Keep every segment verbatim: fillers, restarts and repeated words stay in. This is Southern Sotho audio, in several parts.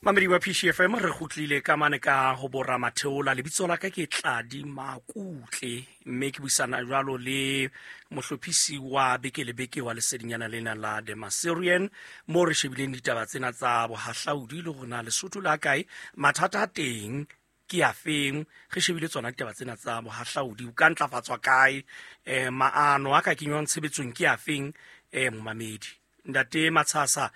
Mamedi wa P C F M, re kgutlile ka mane ka ho bora Matheola. Lebitso la ka ke Tladi Makutle, mme ke buisana jwalo le mohlophisi wa beke le beke wa lesedinyana lena la The Maserian, moo re shebileng ditaba tsena tsa bohahlaudi le hore na Lesotho la kae, mathata a teng ke a feng. Re shebile tsona ditaba tsena tsa bohahlaudi, o ka ntlafatswa kae, eh, maano a ka kenywang tshebetsong ke a feng, eh, momamedi. Ntate Matshasa,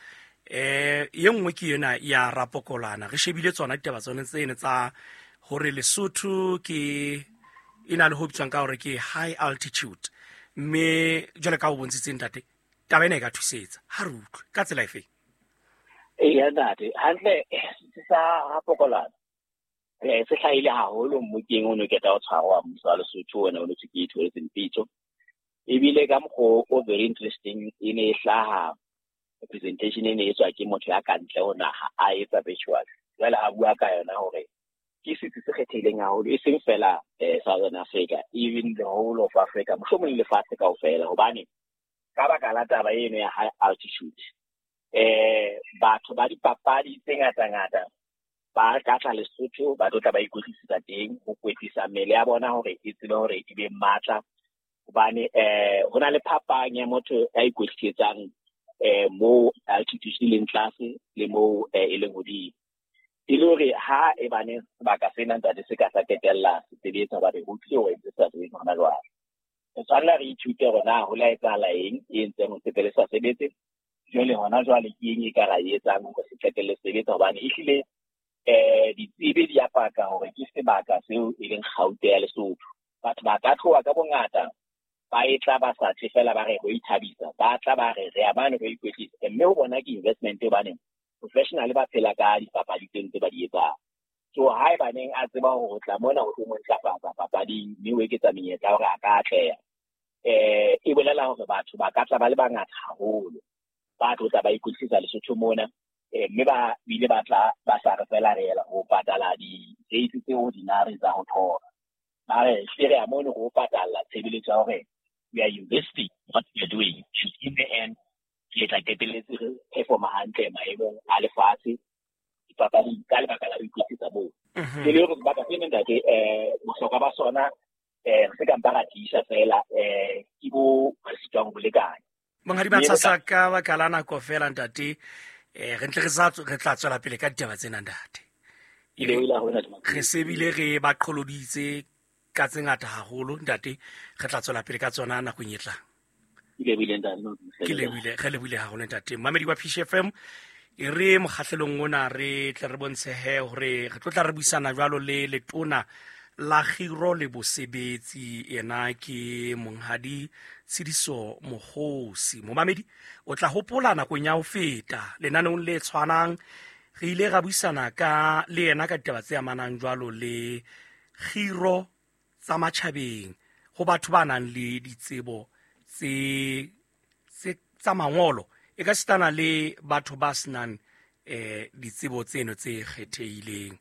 eh ye nngwe ke yena ya Rapokolana. Re shebile tsona ditaba tsone tsene tsa hore Lesotho ke e na le ho bitswang ka hore ke high altitude, mme jwale ka ho bontshitseng ntate, taba ena e ka thusetsa. Ha re utlwe ka tsela efe? Eya ntate, hantle sa Rapokolana eh se hlahile haholo mmokeng o no keta o tshwarwa mmuso wa Lesotho ona o no ke itholetseng pitso. Ebile ka mokgwa o very interesting e ne e hlaha presentation e ne e tswa ke motho ya kantle ho naha a etsa virtual. Jwale a bua ka yona hore ke setsi se kgethehileng haholo, e seng fela eh Southern Africa, even the whole of Africa, mohlomong le lefatshe kaofela, hobane ka baka la taba eno ya high altitude eh batho ba dipapadi tse ngata-ngata ba ka tla Lesotho, ba tlo tla ba ikwetlisetsa teng, ho kwetlisa mmele ya bona hore e tsebe hore e be matla, hobane eh ho na le phapang ya motho ya ikwetlisetsang eh mo altitude e leng tlase le mo e leng hodimo. E le hore ha e bane sebaka sena ntate se ka sa qetella se sebetsa, hobane ho tlile ho entse sa sebetse hona jwale. Re tshwanela re ithute hore na ho la etsahala eng e entseng hore se pele sa sebetse, jwale hona jwale ke eng e ka ra e etsang hore se qetelle se sebetsa, hobane ehlile eh ditsebi di a paka hore ke sebaka seo e leng kgaute ya Lesotho. Batho ba ka tloha ka bongata ba e tla ba sa tle fela ba re ho ithabisa, ba tla ba re re a mane ho ikwetlisa, mme ho bona ke investment hobane professional ba phela ka dipapadi tse ntse ba di etsang. So ha e baneng a tseba hore o tla mona ho tlo mo ntlafatsa papading, mme o eketsa menyetla hore a ka atleha, eh e bolela hore batho ba ka tla ba le bangata haholo ba tlo tla ba ikwetlisa Lesotho mona, eh mme ba bile ba tla ba sa re fela re ela ho patala di-rate tse ordinary tsa ho thola. Ba re hle re a mona ho patala tshebeletso ya hore we are investing what we are doing, and in the end re tla qetelletse re performa hantle maemong a lefatshe dipapading ka lebaka la ho ikwetlisa moo. Ke le hore sebaka sena ntate eh bohlokwa ba sona eh re se ka mpa ra tiisa fela eh ke bo re sitwang ho lekanya. Monghadi Matshasa, ka baka la nako fela ntate, eh re ntle re sa re tla tswela pele ka ditaba tsena ntate. Re sebile re ba qholoditse ka tse ngata haholo ntate, re tla tswela pele ka tsona nakong e tlang. Ke lebile, re lebile haholo ntate. Mamedi wa P C F M, e re mokgahlelong ona re tle re bontshehe hore re tlo tla re buisana jwalo le letona la Kgiro le Bosebetsi, yena ke Monghadi Tshidiso Mokgosi. Momamedi, o tla hopola nakong ya ho feta lenaneong le tshwanang re ile ra buisana ka le yena ka ditaba tse amanang jwalo le kgiro tsa matjhabeng ho batho ba nang le ditsebo tse tse tsa mangolo, e ka sitana le batho ba senang eh ditsebo tseno tse kgethehileng.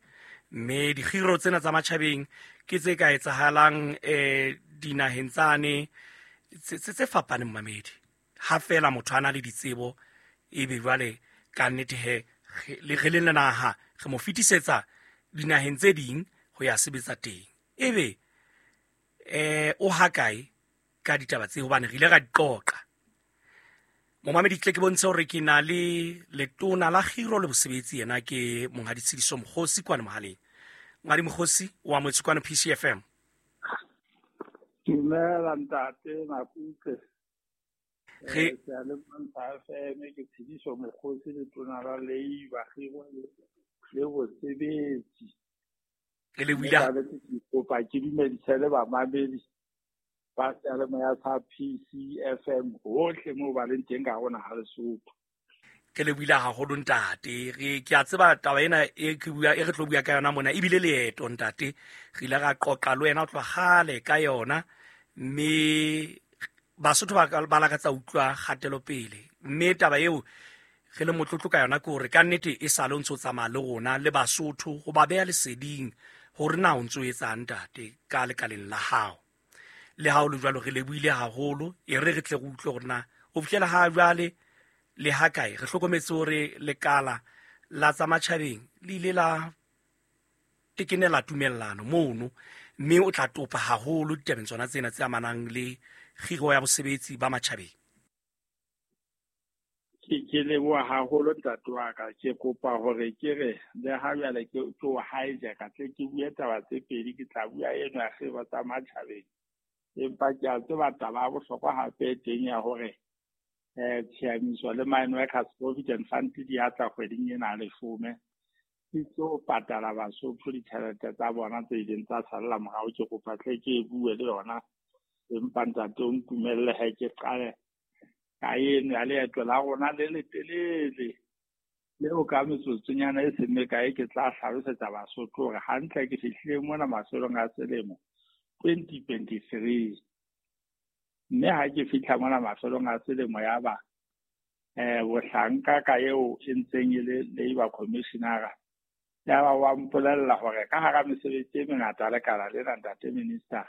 Mme dikgiro tsena tsa matjhabeng ke tse ka etsahalang eh dinaheng tsane tse tse fapaneng mamedi. Ha fela motho a na le ditsebo, ebe jwale ka nnete he le re le naha re mo fetisetsa dinaheng tse ding ho ya sebetsa teng. Ebe eh o hakae ka ditaba tse, hobane re ile ra di qoqa. Momamedi, tle ke bontshe hore ke na le letona la Kgiro le Bosebetsi, yena ke Monghadi Tshidiso Mokgosi kwana mohaleng. Monghadi Mokgosi, o amohetswe kwana P C F M. Dumela ntate Makutle. Re ke a le F M, ke Tshidiso Mokgosi, letona la Leiba Kgiro le Bosebetsi. Re le buile kopa ke dumedise le bamamedi ba seyalemoya sa P C F M hohle moo ba leng teng ka hona ha Lesotho. Ke le buile haholo ntate. Re ke a tseba taba ena e ke bua e re tlo bua ka yona mona, ebile leeto ntate re ile ra qoqa le wena o tloha kgale ka yona, mme Basotho ba ba lakatsa utlwa kgatelopele, mme taba eo re le motlotlo ka yona ke hore ka nnete e sale o ntso tsamaya le rona le Basotho ho ba beha leseding hore na o ntso etsang ntate ka lekaleng la hao. Le ha o le jwalo re lebohile haholo, e re re tle re utlwe hore na ho fihlela ha jwale le ha kae. Re hlokometse hore lekala la tsa matjhabeng le ile la tekenela tumellano mono, mme o tla topa haholo ditabeng tsona tsena tse amanang le kgiro ya bosebetsi ba matjhabeng. Ke ke leboha haholo ntate wa ka. Ke kopa hore ke re le ha jwale ke ke o hijack-a tle ke bue taba tse pedi, ke tla bua eno ya kgiro tsa matjhabeng, empa ke a tseba taba ya bohlokwa hape teng ya hore eh tshiamiso le Mine Workers Provident Fund di a tla kgweding ena ya leshome, di tlo patala Basotho ditjhelete tsa bona tse ileng tsa salla morao. Ke kopa tle ke e bue le yona, empa ntate o ntumelle ha ke qale ka eno ya leeto la rona le letelele leo ka metsotsonyana e seng mekae ke tla hlalosetsa Basotho hore hantle ke fihlile mona mafelong a selemo twenty twenty-three. Mme ha ke fihla mona mafelong a selemo ya ba eh bohlanka ka eo e ntseng e le Labour Commissioner ya ba wa mpolella hore ka hara mesebetsi e mengata lekala lena ntate minister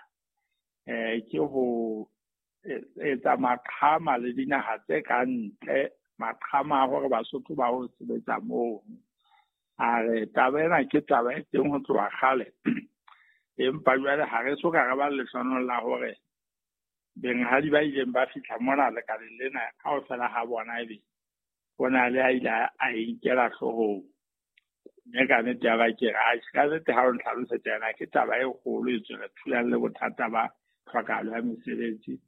eh ke ho etsa maqhama le dinaha tse ka ntle, maqhama a hore Basotho ba ho sebetsa moo. A re taba ena ke taba e teng ho tloha kgale, empa jwale ha re so ka re ba lehlohonolo la hore benghadi ba ileng ba fihla mona lekaleng lena kaofela ha bona ebe ho na le a ile a inkela hloohong. Mme ka nnete ya ba ke re atjhe, ka nnete ha o ntlhalosetsa yona ke taba e kgolo e tswe re thulana le bothata ba tlhokahalo ya mesebetsi,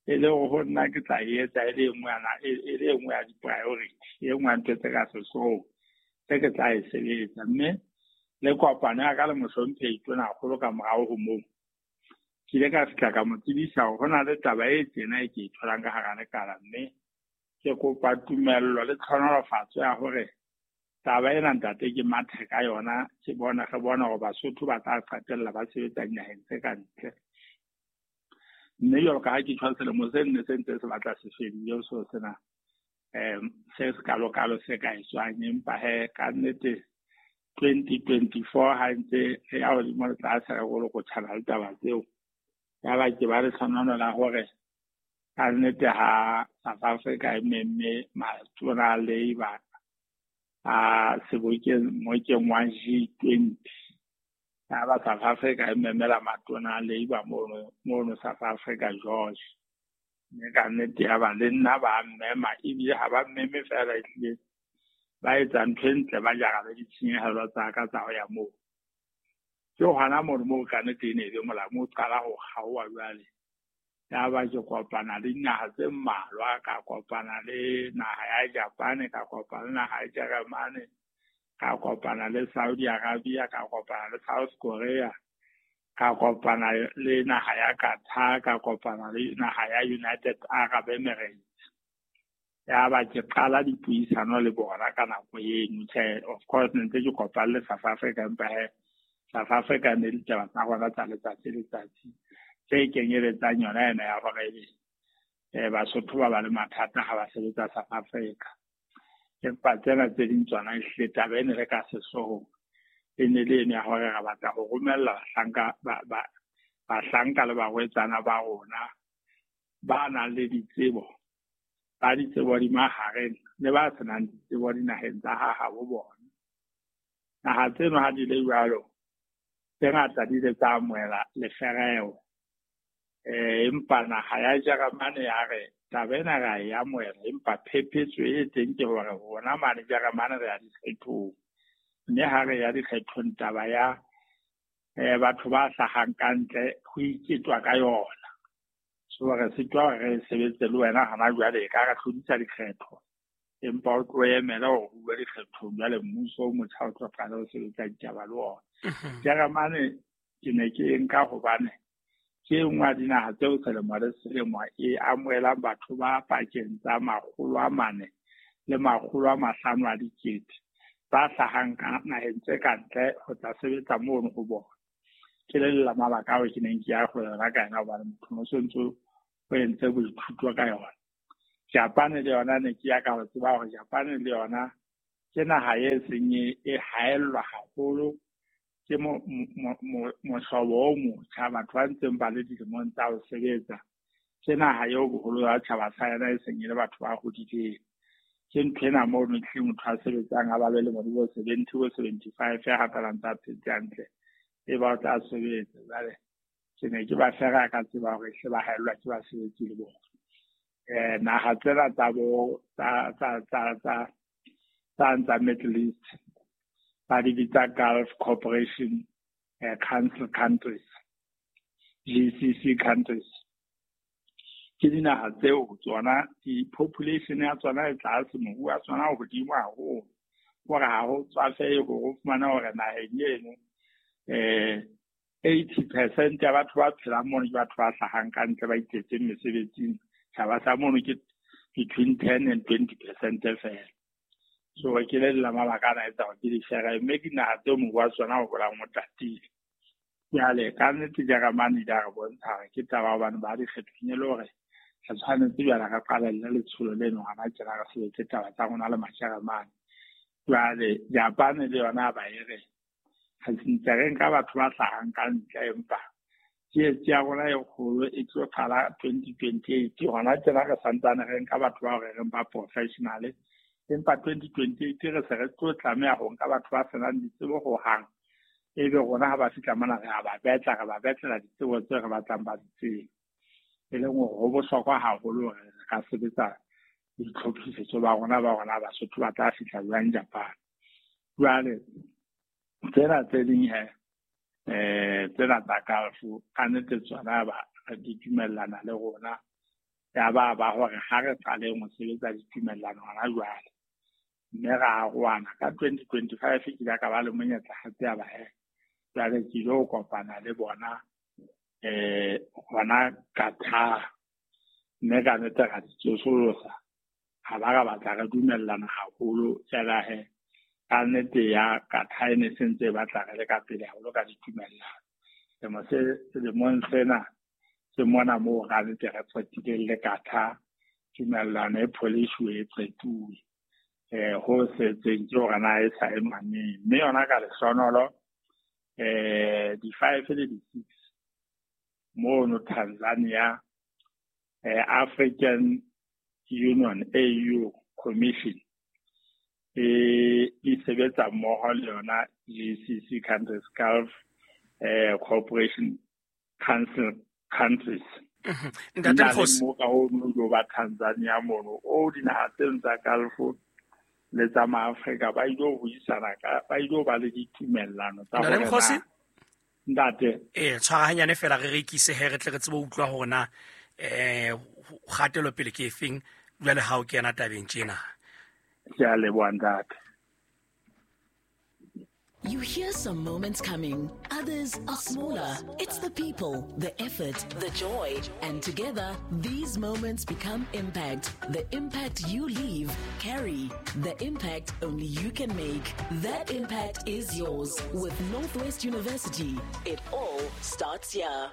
e le hore ho nna ke tla e etsa e le e nngwe ya e le e nngwe ya di-priority, e nngwe ya ntho tse ka sehloohong tse ke tla e sebetsa. Mme le kopano ya ka le mohlomphehi Tonakgolo ka morao ho moo, ke ile ka fihla ka mo tsebisa hore ho na le taba e tjena e ke e tholang ka hara lekala, mme ke kopa tumello le tlhonolofatso ya hore taba ena ntate ke mathe ka yona, ke bona re bona hore Basotho ba tla qetella ba sebetsa dinaheng tse ka ntle. Mme jwalo ka ha ke tjho selemo se nne se ntse se batla se fedile, so sena um se se kalokalo se ka etswang, empa he ka nnete twenty twenty-four ha ntse re ya hodimo le tlase re kolokotjhana le taba tseo, ya ba ke ba lehlohonolo la hore ka nnete ha South Africa e memme matona a Labour a sebokeng mokeng wa G twenty, ya ba South Africa e memela matona a Labour mono mono South Africa George. Mme ka nnete ya ba le nna ba mmema, ebile ha ba mmeme feela, ehlile ba etsa ntho e ntle, ba jara le ditshenyehelo tsa ka tsa ho ya moo. Ke hona mono moo ka nnete e ne e le molamu o qala ho kgaoha jwale. Ya ba ke kopana le dinaha tse mmalwa, ka kopana le naha ya Japan, ka kopana le naha ya Jeremane, ka kopana le Saudi Arabia, ka kopana le South Korea, ka kopana le naha ya Qatar, ka kopana le naha ya United Arab Emirates. Ya ba ke qala dipuisano le bona ka nako eno. Tjhe, of course ne ntse ke kopane le South Africa, empa he South Africa ne ditaba tsa rona tsa letsatsi le letsatsi tse kenyeletsang yona ena ya hore eh Basotho ba ba le mathata ha ba sebetsa South Africa. Empa tsena tse ding tsona ehlile taba e ne re ka sehloohong e ne le eno ya hore re batla ho romella bahlanka ba ba bahlanka le barwetsana ba rona ba nang le ditsebo, ba ditsebo di mahareng le ba senang ditsebo dinaheng tsa ha habo bona. Naha tseno ha di le jwalo, tse ngata di ile tsa amohela lefereho. Eh empa naha ya Jeremane ya re taba ena re a e amohela, empa phephetso e teng ke hore rona mane Jeremane re ya dikgethong, mme ha re ya dikgethong taba ya eh batho ba hlahang ka ntle ho iketwa ka yona. So re sitwa hore re sebetse le wena hana jwale, e ka re hlodisa dikgetho, empa o tlo emela hore o bue dikgethong jwale mmuso o motjha o tlo qala ho sebetsa ditaba le ona. Jeremane ke ne ke e nka hobane ke e nngwe ya dinaha tseo selemo le selemo e amohelang batho ba pakeng tsa makgolo a mane le makgolo a mahlano a dikete ba hlahang ka naheng tse ka ntle ho tla sebetsa mono ho bona. Ke le la mabaka ao ke neng ke ya ho yona ka yona hobane motho o so ntso o entse boithuto ka yona. Japan le yona ne ke ya ka ho tseba hore Japan le yona ke naha e seng e haellwa haholo ke mohlobo o motjha, batho ba ntseng ba le dilemong tsa ho sebetsa. Ke naha eo boholo ba tjhaba sa yona e seng e le batho ba hodileng. Ke ntho ena mono tlhe motho a sebetsang a ba le lemo di bo seventy bo seventy-five ya hapela ntse a phetse hantle e ba o tla sebetsa. Jwale ke ne ke ba fera ka tseba hore hle ba haellwa ke basebetsi le bona. Eh naha tsena tsa bo tsa tsa tsa tsa tsa tsa Middle East ba di bitsa Gulf Cooperation eh, Council countries, G C C countries. Ke dinaha tseo tsona di-population ya tsona e tlase, moruo wa tsona o hodimo haholo, hore ha ho tswafehe hore o fumane hore naheng eno eh eighty percent ya batho ba phelang mono ke batho ba hlahang ka ntle ba iketseng mesebetsing. Tjhaba sa mono ke between ten and twenty percent feela. So ke le la mabaka ana a etsa hore ke di-share, mme dinaha tseo moruo wa tsona o holang o tatile. Jwale ka nnete Jeremane di a re bontsha hore ke taba hobane ba di kgethong e le hore re tshwanetse jwale re qalelle letsholo leno hona tjena re sebetse taba tsa rona le Majeremane. Jwale Japane le yona ba e re re ntse re nka batho ba hlahang ka ntle, empa tsietsi ya rona e kgolo e tlo qala twenty twenty-eight. Hona tjena re santsane re nka batho bao re reng ba professional, empa twenty twenty-eight re se re tlo tlameha ho nka batho ba senang ditsebo hohang. Ebe rona ha ba fihla mona re a ba betla, re ba betlela ditsebo tseo re batlang ba di tsebe. E leng hore ho bohlokwa haholo hore re ka sebetsa ditlhophisetso ba rona ba rona Basotho ba tla fihla jwang Japan. Jwale tsena tse ding he eh tsena tsa Gulf ka nnete tsona ba di dumellana le rona, ya ba ba hore ha re qaleng ho sebetsa ditumellano hona jwale, mme ra arohana ka twenty twenty-five. Ke ile ka ba le monyetla hape ya ba he jwale ke ilo kopana le bona eh hona Qatar, mme ka nnete ra di tsosolosa, ha ba ra batla re dumellana haholo. Feela he ka nnete ya Qatar e ne se ntse e batla re le ka pele haholo ka ditumellano. Selemo se selemong sena ke mona moo ka nnete re qetileng le Qatar, tumellano e pholishuwe e qetuwe. Eh ho setseng ke hore na e saenwa neng, mme yona ka lehlohonolo eh di-five le di-six mono Tanzania, eh African Union A U Commission e e sebetsa mmoho le yona G C C countries, Gulf eh Cooperation Council countries. Ntate Mokgosi, mo ka ho no ba Tanzania mono o dinaha tseno tsa Gulf le tsa Maafrika ba ile ho buisana ka ba ile ba le ditumellano tsa Ntate hore Mokgosi na ntate eh tshwarahanyane fela re rekise he re tle re tsebe ho utlwa hore na eh kgatelo pele ke efeng jwale ha o kena tabeng tjena. Ke a leboha ntate. You hear some moments coming, others are smaller. It's the people, the effort, the joy, and together, these moments become impact. The impact you leave, carry. The impact only you can make. That impact is yours. With Northwest University, it all starts here.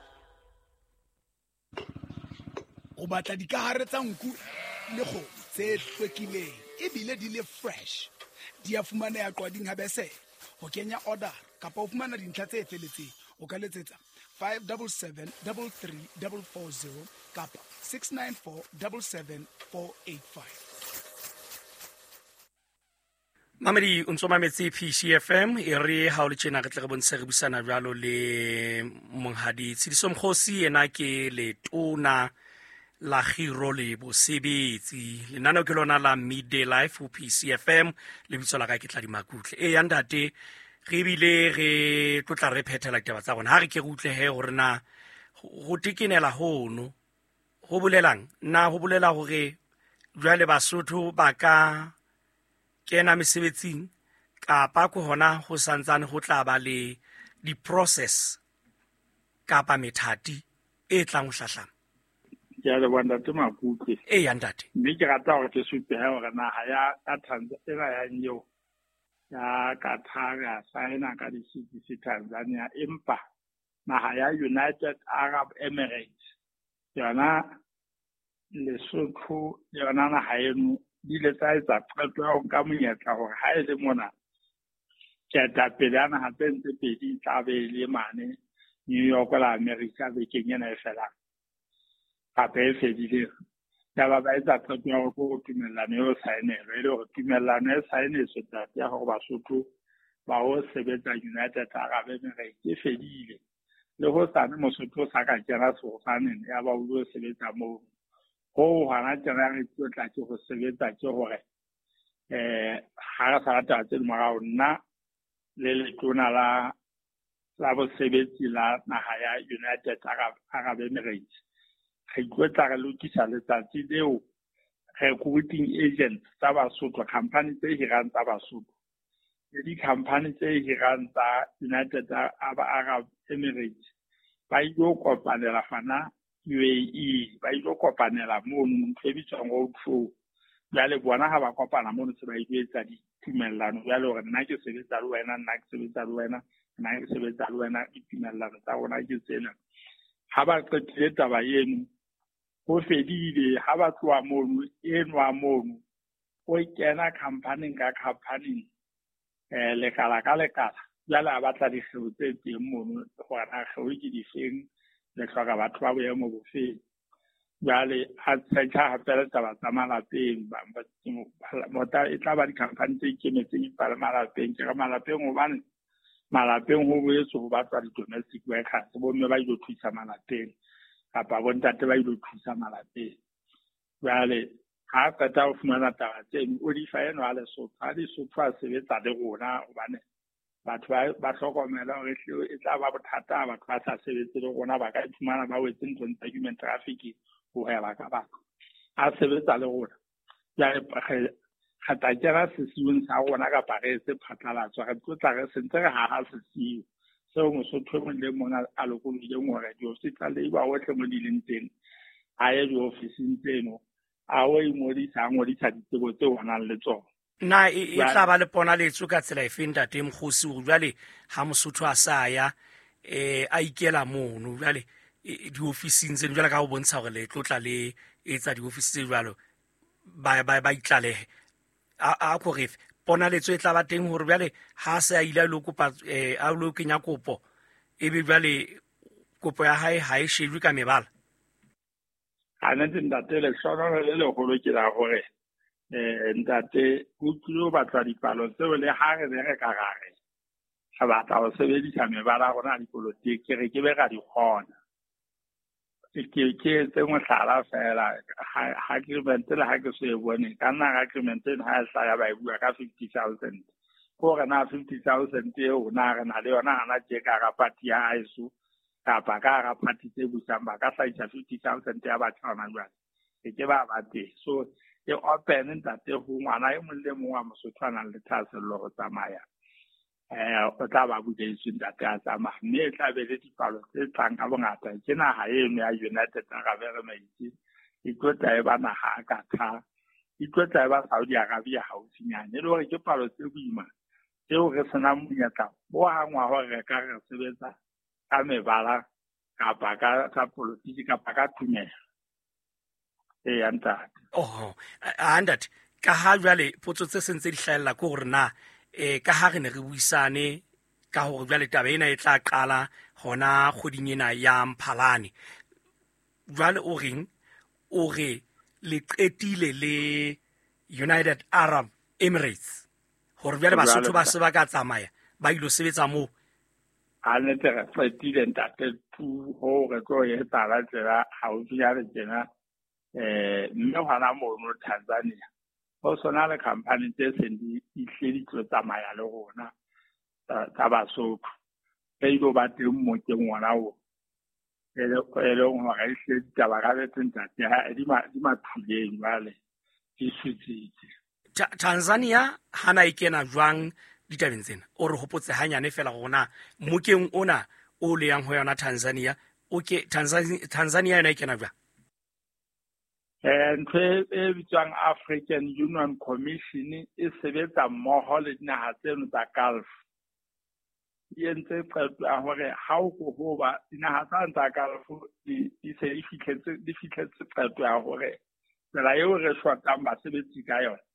O batla dikahare tsa nku le kgomo tse hlwekileng ebile di le fresh. Di a fumaneha Qwading ha bese. Ho kenya order kapa o fumana dintlha tse feletseng o ka letsetsa five seven seven three three four four zero kapa six nine four seven seven four eight five. Mamedi o ntso mametse P C F M e re ha o le tjena re tle re bontshe re busana jwalo le Monghadi Tshidiso Mokgosi, yena ke letona la Kgiro le Bosebetsi. Lenaneo ke lona la Midday Life ho P C F M, lebitso la ka ke Tladi Makutle. E ya ntate, re bile re tlotla re phethela ditaba tsa rona. Ha re ke re utlwe he hore na ho tekenela hono ho bolelang, na ho bolela hore jwale Basotho ba ka kena mesebetsing kapa ko hona ho santsane ho tla ba le di-process kapa methati e tlang ho hlahlama? Ke a leboha ntate Makutle. E ya ntate. Mme ke rata hore ke supe he hore naha ya ya Tanzania ena ya eo ya Qatar ya saena ka di-six Tanzania, empa naha ya United Arab Emirates yona Lesotho le yona naha eno di ile tsa etsa qeto ya ho nka monyetla hore ha e le mona ketapele ya naha tse ntse pedi e tla be e le mane New York la America bekeng ena e felang kapa e fedileng. Yaba ba etsa qeto ya hore ko tumellano eo saenelwe, e le hore tumellano e saenetswe ntate ya hore Basotho ba ho sebetsa United Arab Emirates e fedile. Le hosane Mosotho o sa ka kena sefofaneng ya ba o lo sebetsa moo. Ho hona tjena re tlo tla ke ho sebetsa ke hore eh ha re sa taba tse morao, nna le letona la la bosebetsi la naha ya United Arab, Arab Emirates re tlo tla re lokisa letsatsi leo recruiting agents tsa Basotho, company tse hirang tsa Basotho le di-company tse hirang tsa United Arab Emirates ba ilo kopanela fana U A E, ba ilo kopanela mono ntho e bitswang road show. Jwale bona ha ba kopana mono se ba ilo etsa ditumellano jwale hore nna ke sebetsa le wena, nna ke sebetsa le wena, nna ke sebetsa le wena, ditumellano tsa rona ke tsena. Ha ba qetile taba eno, ho fedile. Ha ba tloha mono, enwa mono o kena company ka company, eh lekala ka lekala. Jwale a batla dikgeo tse teng mono hore na kgeo ke difeng, le hloka batho ba boemo bofeng. Jwale a tshetlha hape le taba tsa malapeng, ba e tla ba di-company tse ikemetseng empa le malapeng. Ke re malapeng hobane malapeng ho boetse ho batlwa di-domestic workers, bomme ba ilo thusa malapeng kapa bontate ba ilo thusa malapeng. Jwale ha qeta ho fumana taba tseno, o di fa enwa a Lesotho, ha Lesotho a sebetsa le rona hobane batho ba ba hlokomela hore e tla ba bothata batho ba sa sebetse le rona, ba ka iphumana ba wetse nthong tsa human trafficking, ho hweba ka batho. A sebetsa le rona, jwale re tla kena sesiung sa rona kapa re etse phatlalatso, re tlo tla re sentse re haha sesiu seo Mosotho e mong le mong a lokolohileng hore diofisi tsa labour hohle mo di leng teng, a ye diofising tseno, a o ingodisa, a ngodisa ditsebo tseo a nang le tsona. Na e tla ba le ponaletso ka tsela efe ntate Mokgosi hore jwale ha Mosotho a sa ya eh a ikela mono jwale diofising tseno, jwale ka ho bontsha hore le tlotla le etsa diofisi tse jwalo ba ba ba itlalehe, a a ko refe ponaletso e tla ba teng hore jwale ha se a ile a lo kopa eh a lo kenya kopo, ebe jwale kopo ya hae ha e shejwe ka mebala? Ha nete ntate, lehlohonolo le leholo ke la hore eh ntate ho tlilo batla dipalo tseo le ha re re ka ra re re batla ho sebedisa mebala ya rona ya dipolotiki, re ke be ra di kgona. Ke ke etse mohlala fela, ha agreement le ha ke so e bone, ka nna agreement eno ha e hlaya ba e bua ka fifty thousand. Ke hore na fifty thousand eo na re na le yona hana tje ka hara party ya haeso kapa ka hara party tse busang, ba ka hlahisa fifty thousand ya batjha hona jwale, e ke ba ba teng. So e open ntate ho ngwana e mong le mong wa Mosotho a nang le thahasello ho tsamaya, eh o tla ba buletswe ntate a tsamaya, mme e tla be le dipalo tse tlang ka bongata. Ke naha eno ya United Arab Emirates e tlo tla e ba naha ya Qatar, e tlo tla e ba Saudi Arabia haufinyane, e le hore ke palo tse boima tseo re senang monyetla bo hang wa hore re ka re sebetsa ka mebala kapa ka ka politiki kapa ka tumelo. Eya ntate. Oho, a ntate, ka ha jwale potso tse sentse di hlahella ke hore na eh ka ha re ne re buisane ka hore jwale taba ena e tla qala hona kgweding ena ya Mphalane, jwale o reng o re le qetile le United Arab Emirates hore jwale Basotho ba se ba ka tsamaya ba ilo sebetsa moo? Ha nete re qetile ntate, tu ho re tlo etsahala tsela haufinyane tjena. Eh mme hona mono Tanzania ho sona le company tse seng di hle di tlo tsamaya le rona tsa Basotho, tse ilo ba teng mokeng ona o e leng hore e hle ditaba ka betse ntate di mathuleng jwale di sutsitse. Tanzania hana e kena jwang ditabeng tsena? O re hopotse hanyane fela rona mokeng ona o le yang ho yona Tanzania, o ke Tanzania Tanzania yona e kena jwang? Eh ntho e bitswang African Union Commission e sebetsa mmoho le dinaha tseno tsa Gulf. E entse qeto ya hore ha o ko ho ba dinaha tsa tsa Gulf di di se di fihletse di fihletse qeto ya hore tsela eo re shotang basebetsi ka yona